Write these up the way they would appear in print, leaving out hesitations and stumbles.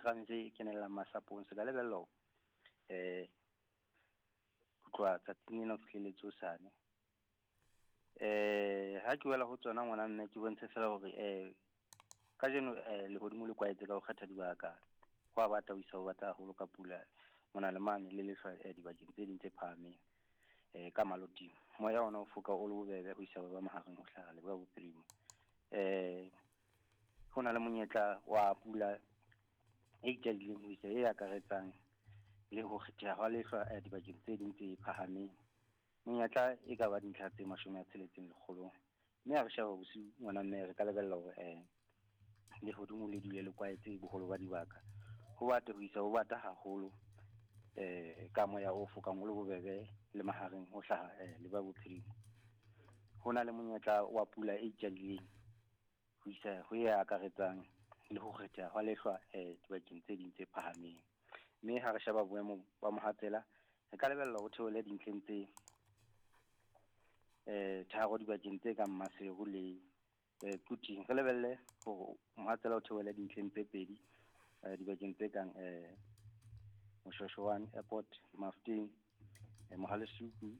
Serame se kenellang masapong se ka lebella hore ho tloha tsatsing lena ho fihlelletse hosane. Ha ke wela ho tsona ngwana mme ke bontshe fela hore kajeno lehodimo le kwaetse ka ho kgetha dibaka. Ho a bata ho isa ho bata haholo ka pula mona le mane le lehlwa dibakeng tse ding tse phahameng ka maloting. Moya ona o foka o le bobebe ho isa ba mahareng ho hlaha leboya bophirima. Ho na le monyetla wa pula e ikadileng ho isa e akaretsang le ho kgetheha hwa lehlwa dibakeng tse ding tse phahameng. Monyetla e ka ba dintlha tse 60 lekgolong. Mme ha re sheba bosiu ngwana mme re ka lebella hore lehodimo le dule le kwaetse boholo ba dibaka. Ho bate ho isa ho bata haholo ka moya o fokang o le bobebe le mahareng ho hlaha leboya bophirima. Ho na le monyetla wa pula e ikadileng ho isa ho e akaretsang le ho kgetheha hwa lehlwa dibakeng tse ding tse phahameng. Mme ha re sheba boemo ba mohatsela, re ka lebella ho theohele dintlheng tse 3 dibakeng tse kang Maseru le Quthing. Re lebelle hore mohatsela o theohele dintlheng tse 2 dibakeng tse kang Moshoeshoane Airport, Mafeteng, Mohalesuku,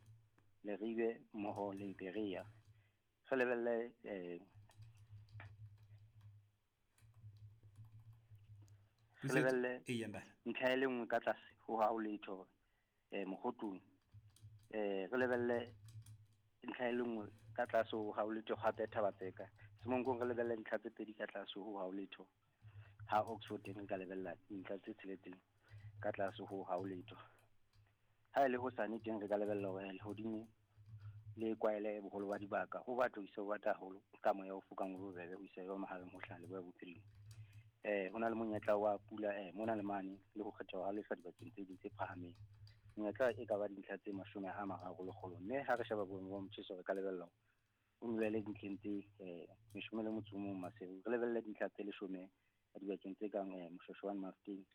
Leribe mmoho le Berea. Re lebelle re lebelle ntlha e le nngwe ka tlase ho ha ho letho Mokgotlong. Re lebelle ntlha e le nngwe ka tlase ho ha ho letho hape Thabatseka. Semonkong re lebelle ntlha tse 2 ka tlase ho ha ho letho. Ha Oxford teng re ka lebella ntlha tse 6 ka tlase ho ha ho letho. Ha e le hosane teng re ka lebella hore lehodimo le kwaele boholo ba dibaka. Ho batla ho isa ho bata haholo ka moya o fokang o bobebe ho isa ba mahareng ho hlaha leboya bophirima. Ho na le monyetla wa pula mona le mane le ho kgetheha ha lehlwa dibakeng tse ding tse phahameng. Monyetla e ka ba dintlha tse 30 lekgolong. Mme ha re sheba boemo ba motjheso re ka lebella o nyolele dintlheng tse 11 Maseru. Re lebelle dintlha tse 10 dibakeng tse kang Moshoeshoane, Mafeteng,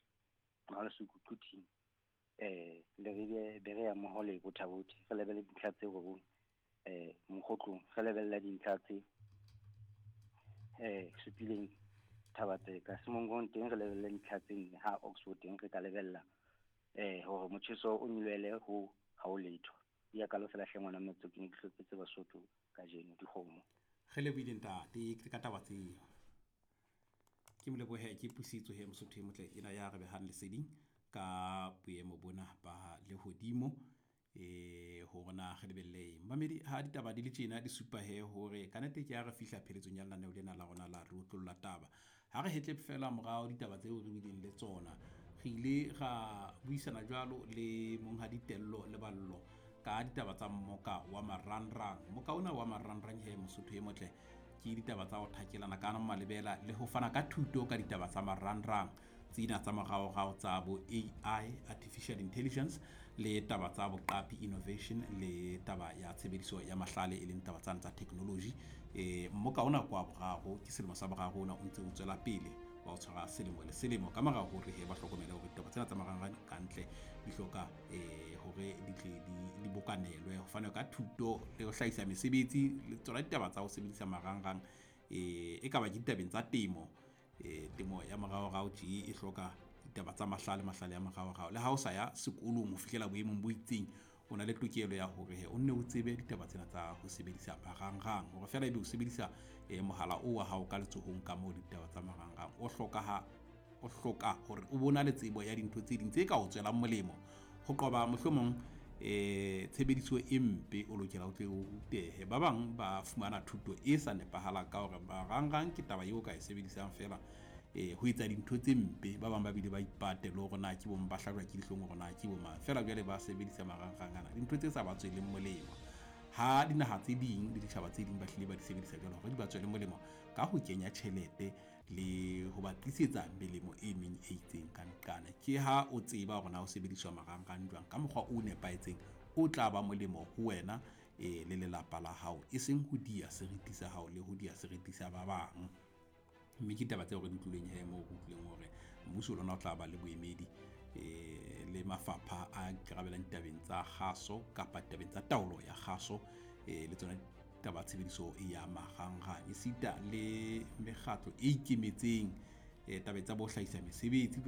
Mohalesuku, Quthing, Leribe, Berea mmoho le Botha-Bothe. Re lebelle dintlha tse 9 Mokgotlong. Re lebelle dintlha tse 7 Thabatseka. Semonkong teng re lebelle dintlha tse 4. Ha Oxford teng re ka lebella hore motjheso o nyolohele ho ha ho letho. Ya ka fela hle ngwana mmetso ke ne ke hlopetse Basotho kajeno dikgomo. Re lebohile ntate ke ka taba tseo. Ke molebohe ke Pusetso he Mosotho e motle ena ya re behang leseding ka boemo bona ba lehodimo hore na re lebelle eng. Mamedi ha ditaba di le tjena di supa he hore ka nnete ke ha re fihla pheletsong ya lenaneo lena la rona la re otlolla taba. Ha re hetle fela morao ditaba tseo re bileng le tsona, re ile ra buisana jwalo le monghadi Tello Leballo ka ditaba tsa mmoka wa marangrang. Mmoka ona wa marangrang he Mosotho e motle ke ditaba tsa ho thakelana ka malebela le ho fana ka thuto ka ditaba tsa marangrang tsena tsa moraorao tsa bo AI, artificial intelligence, le taba tsa boqapi innovation, le taba ya tshebediso ya mahlale e leng taba tsane tsa technology. Mmoka ona kwa boraro ke selemo sa boraro ona o ntse o tswela pele wa o tshwara selemo le selemo ka mora hore he ba hlokomele hore ditaba tsena tsa marangrang kantle di hloka hore di tle di bokanelwe ho fanwe ka thuto le ho hlahisa mesebetsi le tsona ditaba tsa ho sebedisa marangrang e ka ba ke ditabeng tsa temo. Temo ya moraorao tje e hloka ditaba tsa mahlale, mahlale ya moraorao. Le ha o sa ya sekolong ho fihlela boemong bo itseng, o na le tokelo ya hore he o nne o tsebe ditaba tsena tsa ho sebedisa marangrang, hore feela ebe o sebedisa mohala o wa hao ka letsohong ka moo ditaba tsa marangrang. O hloka hore o bona le tsebo ya dintho tse ding tse ka o tswelang molemo ho qoba mohlomong tshebediso e mpe. O lokela o tle o rutehe. Ba bang ba fumana thuto e sa nepahalang ka hore marangrang ke taba eo ka e sebedisang fela ho etsa dintho tse mpe. Ba bang ba bile ba ipate le hore na ke bo ba hlajwa ke dihlong hore na ke bo mang, fela jwale ba sebedisa marangrang ana dintho tse sa ba tsweleng molemo. Ha dinaha tse ding le ditjhaba tse ding ba hlile ba di sebedisa jwalo hore di ba tswele molemo ka ho kenya tjhelete le ho ba tlisetsa melemo e meng e itseng ka nqane. Ke ha o tseba hore na o sebediswa marangrang jwang ka mokgwa o nepahetseng o tla ba molemo ho wena le lelapa la hao, e seng ho dia seriti sa hao le ho dia seriti sa ba bang. Mme ke taba tseo re di utlwileng he moo re utlwileng hore mmuso lona o tla ba le boemedi le mafapha a ikarabellang ditabeng tsa kgaso kapa ditabeng tsa taolo ya kgaso le tsona taba tshebediso ya marangrang, esita le mekgatlo e ikemetseng tabeng tsa bo hlahisa mesebetsi.